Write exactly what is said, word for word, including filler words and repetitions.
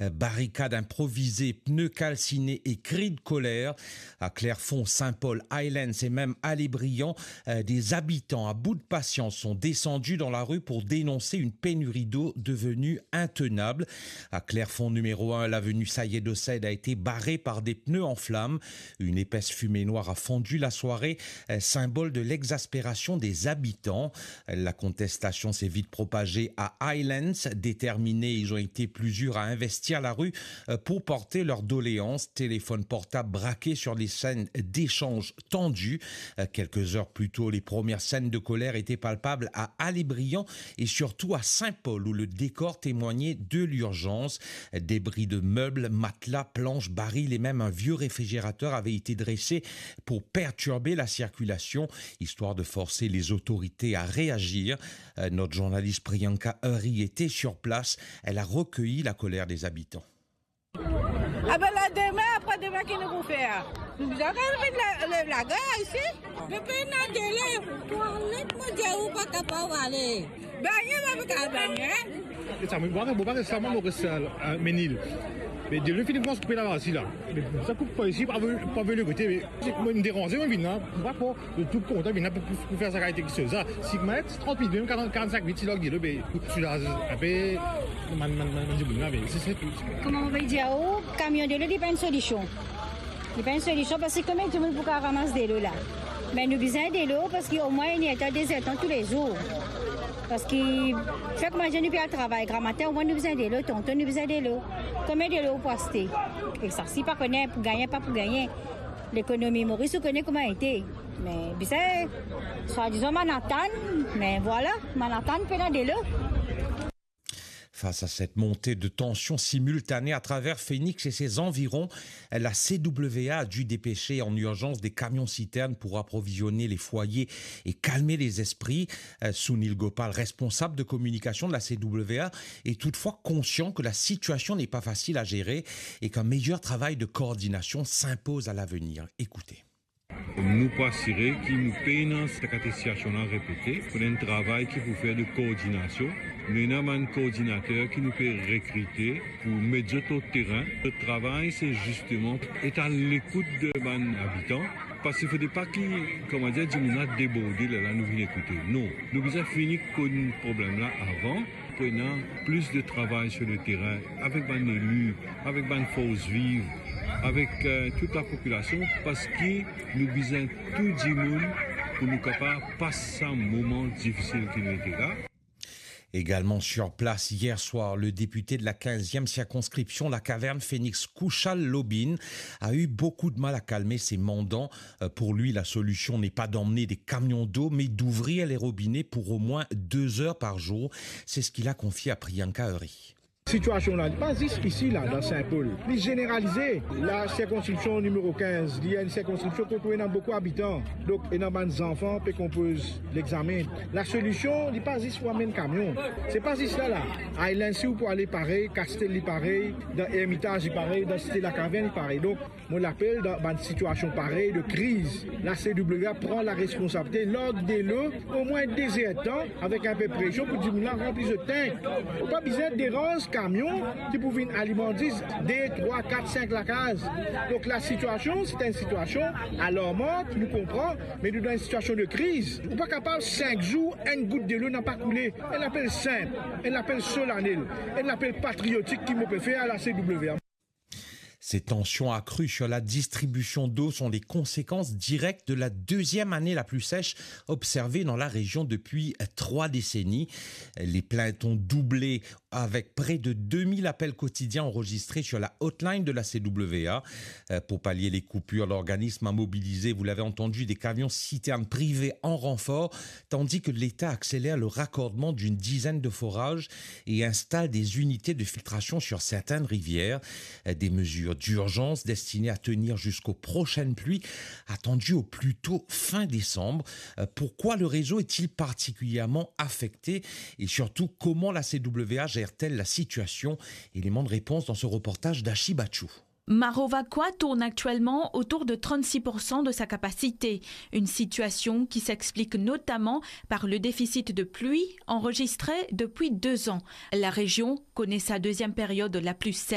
Euh, barricades improvisées, pneus calcinés et cris de colère. À Clerfond, Saint-Paul, Highlands et même à Les Brillants, euh, des habitants à bout de patience sont descendus dans la rue pour dénoncer une pénurie d'eau devenue intenable. À Clerfond numéro un, l'avenue Sayed Hossein a été barrée par des pneus en flammes. Une épaisse fumée noire a fondu la soirée, euh, symbole de l'exaspération des habitants. La contestation s'est vite propagée à Highlands. Déterminés, ils ont été plusieurs à investir la rue, euh, pour porter leurs doléances. Téléphones portables braqués sur les scènes d'échanges tendus. Euh, quelques heures plus tôt, les premières scènes de colère étaient palpables à Allé-Briand et surtout à Saint-Paul, où le décor témoignait de l'urgence. Débris de meubles, matelas, planches, barils et même un vieux réfrigérateur avaient été dressés pour perturber la circulation, histoire de forcer les autorités à réagir. Euh, notre journaliste Priyanka Hari était sur place. Elle a recueilli la colère des habitants. Ah ben là, demain, après-demain, qu'est-ce que nous allons faire ? Nous allons faire la, la, la guerre ici. Depinn dan delo, twalet mo dir ou pa kapav ale. Bagne, pa kapav bagne. E sa, mo pa, mo pa res la, mo res, euh, Menil. Me delo fini koumans koupe laba isi la. Me sa koup pa isi, pa veni, pa veni kote, me se mwa, mo deranze, mo vinn la. Mo pa pou, mo tou kontan vinn la pou, pou, pou fer sa kalite kiksoz la. Si mo met trant minit, mem karant, karant-sink minit, si lor delo, be, soulaz inpe bann, bann, bann, bann dimoun la, me se, se tou. Kouma mo pe dir ou, kamion delo, li pa enn solision. Li pa enn solision, parski konbien dimoun pou kapav ramas delo la? Me nou bizin delo, parski omwin enn er tan, de zer tan toulezour. Parski, fer kouma dir, nou pe al travay gramatin, omwin nou bizin delo, tonton, nou bizin delo. Konbien delo ou pou aste? E sa, si pa kone pou gagne, pa pou gagne. Lekonomi Moris, ou kone kouma ete. Me bizin, swadizan, bann atann, me vwala, bann atann pena delo. Face à cette montée de tension simultanée à travers Phoenix et ses environs, la C W A a dû dépêcher en urgence des camions-citernes pour approvisionner les foyers et calmer les esprits. Euh, Sunil Gopal, responsable de communication de la C W A, est toutefois conscient que la situation n'est pas facile à gérer et qu'un meilleur travail de coordination s'impose à l'avenir. Écoutez. Nou pou asire ki nou pena sa kalite sitiasion la repete. Pou ena enn travay ki pou fer de koordinasion. Nou ena bann koordinater ki nou pe rekrite pou met zot lor terin. Zot travay, se zisteman et a lekout de bann abitan. Parski fode pa ki, kouma dir, dimoun la deborde, lerla nou vinn ekoute. Non, nou bizin fini konn problem la avan. Pou ena plis de travay sir le terin, avek bann eli, avek bann fors viv, avek, euh, tou lapopilasion, parski nou bizin tou dimoun pou nou kapav pas sa moman difisil ki nou ete la. Également sur place hier soir, le député de la quinzième circonscription, la Caverne Phoenix, Kushal Lobin, a eu beaucoup de mal à calmer ses mandants. Euh, pour lui, la solution n'est pas d'emmener des camions d'eau, mais d'ouvrir les robinets pour au moins deux heures par jour. C'est ce qu'il a confié à Priyanka Hari. Sitiasion la, li pa zis isi la, dan Saint-Paul. Li zeneralize. La sirkonskripsion nimero kinz, li enn sirkonskripsion kot ena boukou abitan. Donk, ena bann zanfan pe konpoz lexame. La solision, li pa zis pou amenn kamion. Se pa zis la, la. Island, si ou pou ale parey, Castell li parey, dan Ermitage li parey, dan Site Lakavern li parey. Donk, mo lapel dan bann sitiasion parey de kriz, la C W A pran laresponsabilite, larg delo omwin de zer tan, avek inpe presion pou dimoun la ranpli zot tank. Ou pa bizin deranz kamion ki pou vinn alimant zis de, trwa, kat, sink lakaz. Donk, la sitiasion, se enn sitiasion alarmant, nou konpran, me nou dan enn sitiasion de kriz. Ou pa kapav sink zour, enn gout delo napa koule. Enn lapel sinp, enn lapel solanel, enn lapel patriotik ki mo pe fer a la C W A. Ces tensions accrues sur la distribution d'eau sont les conséquences directes de la deuxième année la plus sèche observée dans la région depuis trois décennies. Les plaintes ont doublé avec près de deux mille appels quotidiens enregistrés sur la hotline de la C W A. Euh, pour pallier les coupures, l'organisme a mobilisé, vous l'avez entendu, des camions citernes privés en renfort, tandis que l'État accélère le raccordement d'une dizaine de forages et installe des unités de filtration sur certaines rivières. Des mesures d'urgence destinées à tenir jusqu'aux prochaines pluies, attendues au plus tôt fin décembre. Euh, pourquoi le réseau est-il particulièrement affecté et surtout, comment la C W A gère-t-elle la situation ? Élément de réponse dans ce reportage d'Ashi Bachou. Marovaquois tourne actuellement autour de trente-six pour cent de sa capacité, une situation qui s'explique notamment par le déficit de pluie enregistré depuis deux ans. La région connaît sa deuxième période la plus sèche.